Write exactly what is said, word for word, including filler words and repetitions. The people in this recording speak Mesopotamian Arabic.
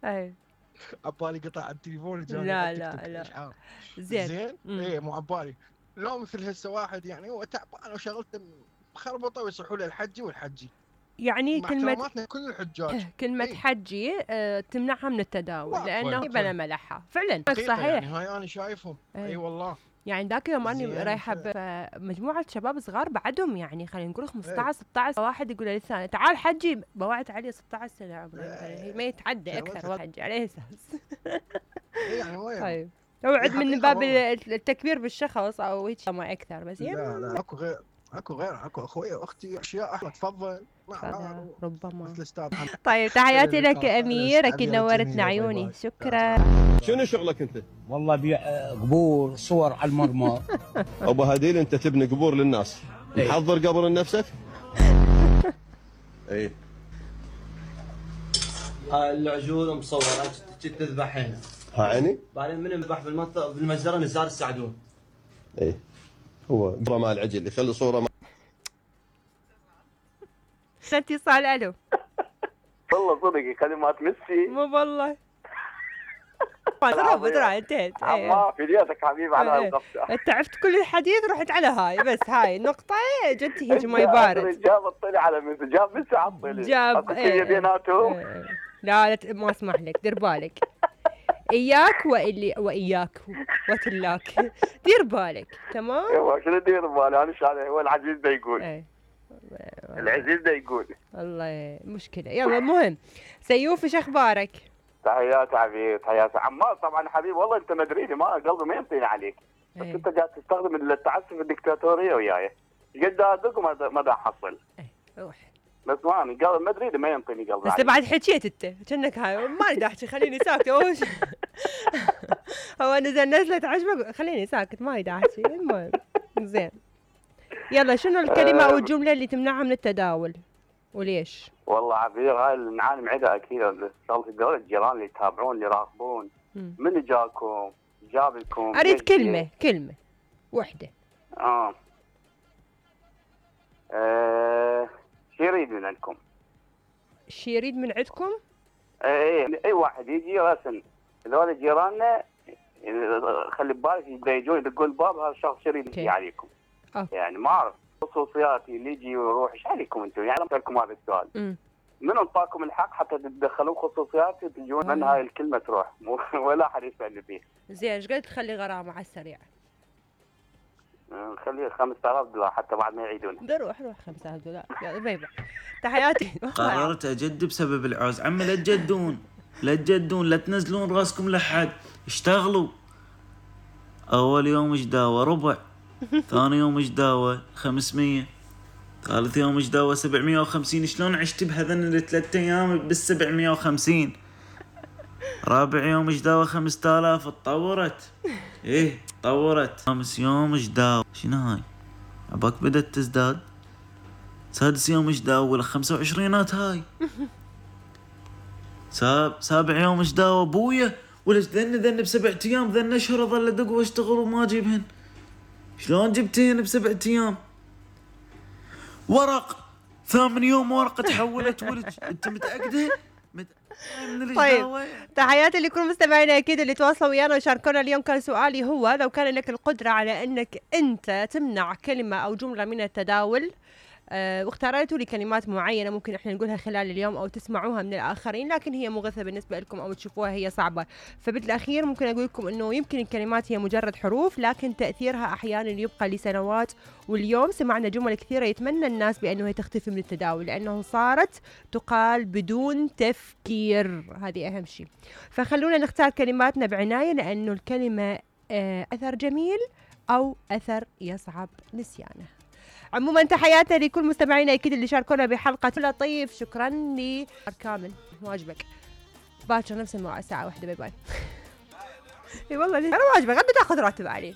اي عبالي قطع التليفون جاني لا لا لا زين زين اي مو عبالي لو مثل هسه واحد يعني هو تعبان وشغلته مخربطه ويصحوا له الحجي والحجي يعني كلمة كل الحجاج كلمة ايه؟ حجي اه تمنعها من التداول لأنه بلا ملحة فعلا صحيح يعني هاي أنا شايفهم اي أيه والله يعني ذاك يوم أني رايحة بمجموعة شباب صغار بعدهم يعني خلينا نقول خمسطعش ستطعش واحد يقول للثاني تعال حجي بوعت عليه ستطعش سنة عمره هي ما يتعدى أكثر حجي عليه أساس يعني وين طيب اوعد من باب التكبير بالشخص أو هيك ما أكثر بس يعني لا لا اكو غير اكو غير اكو اخوي واختي اشياء احلى تفضل ربما مثل طيب تحياتي لك امير اكيد نورتنا عيوني شكرا شنو شغلك انت؟ والله بيع قبور صور على المرمى ابو هديل انت تبني قبور للناس محضر قبر لنفسك؟ اي هاي العجول مصوره كنت تذبح هنا ها عيني؟ بعدين من يذبح بالمنطقه بالمجزره نزار السعدون اي هو قبره مال العجل يخلي صوره ما اتصال الو والله صدقي كلمات ميسي مو والله اضرب ترى انتهت ما في ديتك حبيبي على هالقفشه انت عرفت كل الحديث رحت على هاي بس هاي نقطه جت هيك ما يبارد جاب الطلي على ميسي جاب ميسي على الطلي جاب ايه بيناتهم لا لا ما اسمح لك دير بالك اياك واللي واياك وتلاك دير بالك تمام ايوه شنو دير بالي انا شايف هو العزيز ده يقول ايه العزيز ده يقول الله مشكله يلا المهم سيوف ايش اخبارك؟ تحيات حبيبي تحيات عمار طبعا حبيبي والله انت مدريدي ما قلبي ما ينطيني عليك بس ايه. انت قاعد تستخدم التعسف الدكتاتوريه وياي قد ادق وما دا احصل ايه روح بس ما انا قلب مدريدي ما ينطيني قلبي بس بعد حكيت انت كأنك هاي ما اريد احكي خليني ساكت اوش هو نزل نزلت عجبك خليني ساكت ما اريد احكي المهم زين يلا شنو الكلمه او الجمله اللي تمنعها من التداول وليش؟ والله عبير هاي اللي نعاني عندها اكيد شغله الدول الجيران اللي يتابعون اللي يراقبون من جاكم جاب لكم اريد كلمه كلمه وحده اه, آه. شو يريد من عندكم؟ شو يريد من عندكم؟ اي اي واحد يجي راسا هذول جيراننا خلي ببالك يجون يدقون الباب هذا الشخص يريد يجي عليكم أوه. يعني ما اعرف خصوصياتي اللي يجي ويروح ايش عليكم انتم يعني لكم هذا السؤال م. من انطاكم الحق حتى تتدخلون خصوصياتي تجون من هاي الكلمه تروح ولا احد يسالني فيه زين ايش قد تخلي غرامه على السريع؟ نخليه خمسة آلاف دولار حتى بعد ما يعيدون روح روح خمسة آلاف دولار يلا بيبع تحياتي قررت اجد بسبب العوز عمي لا تجدون لا تجدون لا تنزلون راسكم لحد اشتغلوا اول يوم ايش داوى ربع ثاني يوم ايش داوى خمسمية ثالث يوم ايش داوى سبعمية وخمسين شلون عشت بهذن الثلاث ايام بالسبعمية وخمسين رابع يوم ايش داوى خمسة آلاف اتطورت ايه تطورت خامس يوم ايش داوى شنو هاي عباك بدت تزداد سادس يوم ايش داوى ولا خمسة وعشرينات هاي ساب سابع يوم ايش داوى ابويا ولا ذن ذن بسبعة ايام ذن اشهر اظل ادق واشتغل وما اجيبهن شلون جبتين بسبعة ايام ورق ثامن يوم ورقه تحولت ولد انت متاكده طيب تحياتي لكل مستمعينا اكيد اللي تواصلوا ويانا وشاركونا اليوم. كان سؤالي هو لو كان لك القدره على انك انت تمنع كلمه او جمله من التداول أه واختاريتوا لي كلمات معينه ممكن احنا نقولها خلال اليوم او تسمعوها من الاخرين لكن هي مغثه بالنسبه لكم او تشوفوها هي صعبه، فبالاخير ممكن اقول لكم انه يمكن الكلمات هي مجرد حروف لكن تاثيرها احيانا يبقى لسنوات. واليوم سمعنا جمل كثيره يتمنى الناس بانه هي تختفي من التداول لانه صارت تقال بدون تفكير، هذه اهم شيء. فخلونا نختار كلماتنا بعنايه لانه الكلمه أه اثر جميل او اثر يصعب نسيانه. عموما تحياتنا لكل مستمعينا اكيد اللي شاركونا بحلقه لطيف. شكرا لي كامل واجبك باكر نفس الموعد الساعه واحدة. باي باي. اي والله انا واجبك غدا تاخذ راتب عليه.